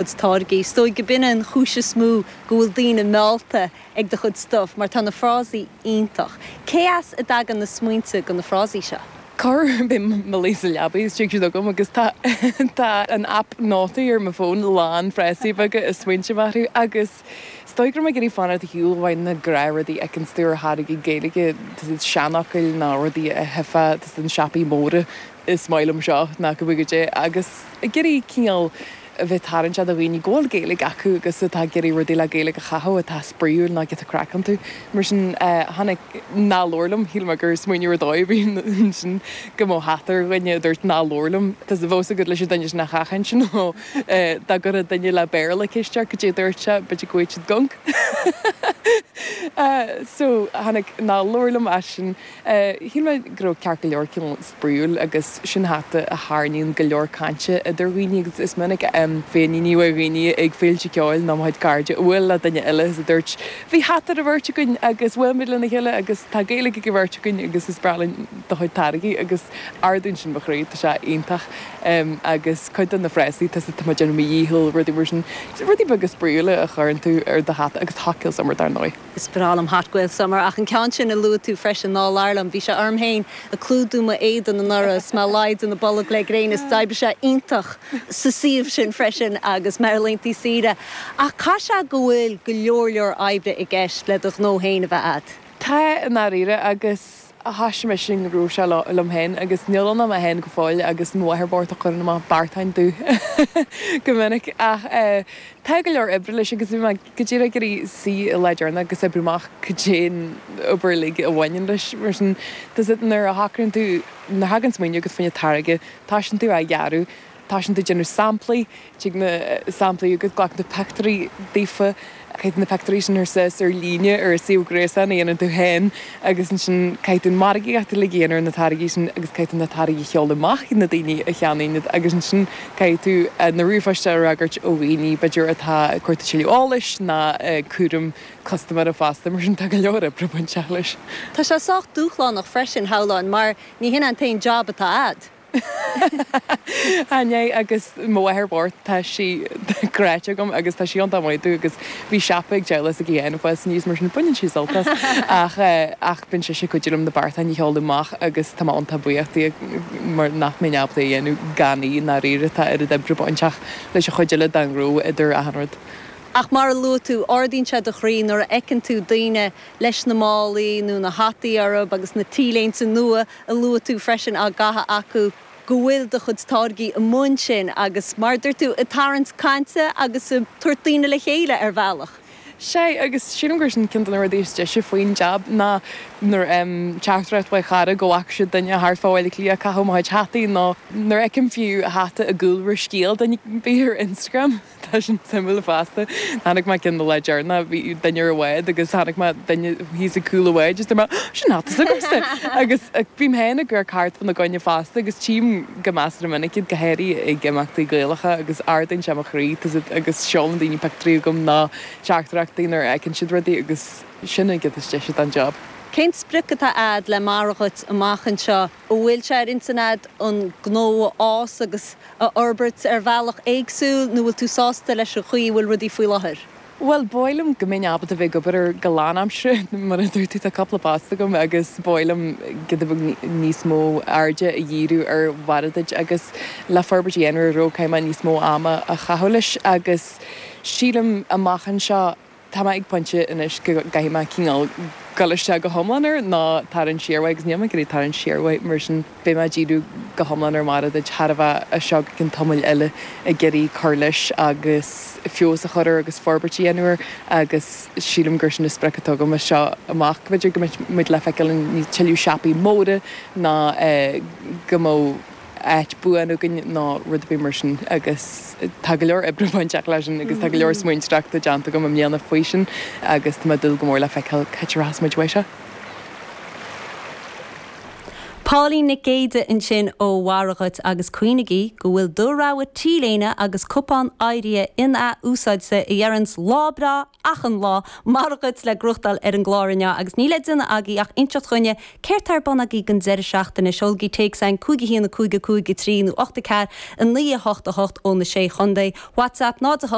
Chuid táirgí. Is dóigh go b'in an chúis is mó go bhfuil daoine meallta ag do chuid stuif mar tá na frásaí iontach. Cé as a dtagann na smaointe do na frásaí seo? Corruair bím mo luí sa leabaidh is tig siad chugam agus tá tá an aip nótaí ar mo fón lán frásaí beaga is smaointe orthu agus is dóigh go raibh mé ag iarraidh fanacht ar shiúl uaidh na gnáthrudaí a fheiceanns tú ar tháirgí Gaeilge, tá siad seanfhocail nó rudaí a thuigfeá tá sna siopaí móra is maith liom seo ná go bhfuil goidé agus ag iarraidh cineál a bheith tarraingteach do dhaoine go bhfuil Gaeilge acu agus atá ag iarraidh rudaí le Gaeilge a chaitheamh atá spraíúil nó giota craic iontu. Mar sin, tháinig Ná labhair liom, shíl mé gur smaoineamh ar dóigh a bhí ansin go mbeadh hata ar dhuine a dúirt Ná labhair liom. Tá a fhios agat leis an duine sin a sheachaint nó dá gcuirfeadh duine le Béarla ceist ort goidé a dúirt sé, b'fhéidir go bhfaigheadh siad gonc. So, tháinig Ná labhair liom as sin. Shíl mé go raibh ceart go leor cineál spraíúil agus sin hata a tharraingíonn go leor cainte idir dhaoine agus is minic a féiníní uaidh dhaoine ag féilte ceoil nó mo chuid cairde a bhuail le duine eile is a dúirt bhí hata ar an bheirt againn agus bhuail muid lena chéile agus tá Gaeilge ag an bheirt againn agus is breá linn do chuid táirgí agus ardaíonn sin mo chroí, tá sé iontach agus cuid de na frásaí tá tá mé ag déanamh mo dhícheall rudaí mar sin, rudaí beaga spraíúla a chuireann tú ar do hata agus Hot Gael Summer dar ndóigh. Is breá liom Hot Gael Summer ach an ceann sin a luaigh tú freisin, Ná Labhair Liom, bhí sé orm féin ag clúdú m'éadan anuraidh is mé laghad de na bolg le gréin is d'oibrigh sé iontach sa suíomh sin freisin agus mé ar laethanta saoire. Ach caithfidh sé go bhfuil go leor leor oibre i gceist le do ghnó féin a bheith a'd. Tá, i ndáiríre, agus thoisigh mise an gnó seo liom féin agus níl ann ach mé féin go fóill agus mo mháthair bocht a chuireann amach beartáin domh go minic ach tá go leor oibre leis agus bhí mé go díreach ag iarraidh suí an lá deireanach agus oibriú amach cad é an obair uilig a bhaineann leis. Mar sin, tá 's agat nuair a shocraíonn tú, nuair a thagann smaoineamh agat fá choinne táirge, toisíonn tú á dhearadh, toisíonn tú ag déanamh samplaí, tig na samplaí agat, glacann tú pictiúirí daofa, caithfidh tú na pictiúirí sin a chur suas ar líne ar an suíomh gréasáin a dhéanann tú féin agus ansin caithfidh tú an margaíocht uilig a dhéanamh ar na táirgí sin agus caithfidh tú na táirgí a sheoladh amach chuig na daoine a cheannaíonn iad agus ansin caithfidh tú na ríomhphoist a fhreagairt ó dhaoine b'fhéidir atá ag cuartú tuilleadh eolais ná cúram custaiméara fosta, mar sin tá go leor oibre bainteach leis. Tá sé sách dúshlánach freisin, shamhlóinn, mar ní hin an t-aon jab atá a'd. Chan ea, agus mo mháthair bhocht, tá sí gráite agam agus tá sí iontach maith domh agus bhí siopa ag teaghlach s'aici féin ag fás aníos mar sin baineann sí sult as. Ach ach bíonn sise ag cuidiú liom na beartáin a sheoladh amach agus tá mé iontach buíoch di mar nach mbeinn ábalta é a dhéanamh gan í i ndáiríre, tá oiread oibre bainteach leis an chuid eile den ghnó idir achan rud. Ach mar a luaigh tú, ardaíonn sé do chroí nuair a fheiceann tú daoine leis na málaí nó na hataí orthu agus na T-léinte nua a luaigh tú freisin á gcaitheamh acu, go bhfuil do chuid táirgí amuigh ansin agus, mar a dúirt tú, ag tarraingt cainte agus ag tabhairt daoine le chéile ar bhealach. Sea, agus sílim gur sin ceann de na rudaí is deise faoin jab ná nuair a fhaighim teachtaireacht ó chara go bhfaca siad duine thart fá Bhaile Átha Cliath ag caitheamh mo chuid hataí nó nuair a fheicim fiú hata i gcúlra scéil duine ar bith ar Instagram. Tá sin suimiúil fosta. Chonaic mé ceann an lá deireanach, bhí duine ar an bhád agus chonaic mé duine thíos ag cúl an bháid is dúirt mé, sin hata s'agamsa! Agus bím féin ag amharc thart fána gcoinne fosta agus tchím go measartha minic iad, go háirithe ag imeachtaí Gaelacha agus ardaíonn sé mo chroí tá 's agat agus seolann daoine pictiúirí chugam nó teachtaireachtaí nuair a fheiceann siad rudaí agus sin an chuid is deise den job. Cén sprioc atá a'd le Mara Dhuit amach anseo? An bhfuil sé ar intinn a'd an gnó a fhás agus a fhorbairt ar bhealach éagsúil nó bhfuil tú sásta leis an chaoi a bhfuil rudaí faoi láthair? Bhuel, ba mhaith liom go mbeinn ábalta bheith ag obair air go lánaimseartha. Mar a dúirt tú, tá cúpla post agam agus ba mhaith liom giota beag níos mó airde a dhíriú ar Mhara Duit agus le forbairt a dhéanamh ar an ghnó caithfidh mé níos mó ama a chaitheamh leis agus sílim amach anseo, Tá mé ag pointe anois go gcaithfidh mé cineál dul isteach go hiomlán air nó tarraingt siar uaidh agus níl mé ag iarraidh tarraingt siar uaidh mar sin beidh mé ag díriú go hiomlán ar Mara Duit chóir a bheith as seo go ceann tamaill eile ag iarraidh cur leis agus feabhas a chur air agus forbairt a dhéanamh air agus sílim gur sin an sprioc atá agam as seo amach. B'fhéidir go mbeidh muid le feiceáil in tuilleadh siopaí móra nó go mbeadh áit buan againn nó rud ar bith mar sin agus tá go leor oibre bainteach leis sin agus tá go leor smaointeoireachta déanta agam i mbliana faoi sin agus tá mé ag dúil go mór le feiceáil cá háit a rachas muid uaidh seo. Pauline Nic Géide ansin ó Mhaire Dhuit agus cuimhnigí go bhfuil do rogha t-léine agus cupán éirithe in-athúsáidte a dheireanns lá breá achan lá, maire dhuit le gnóthachtáil ar an gclár inniu agus níl le déanamh agaibh ach inseacht dhuinne céard tá ar bun agaibh don deireadh seachtaine. Seolaigí téacs chugainn 5 1 5 5 3 nó 8 4 9 8 8 ó na Sé Chontae. WhatsApp 0 8.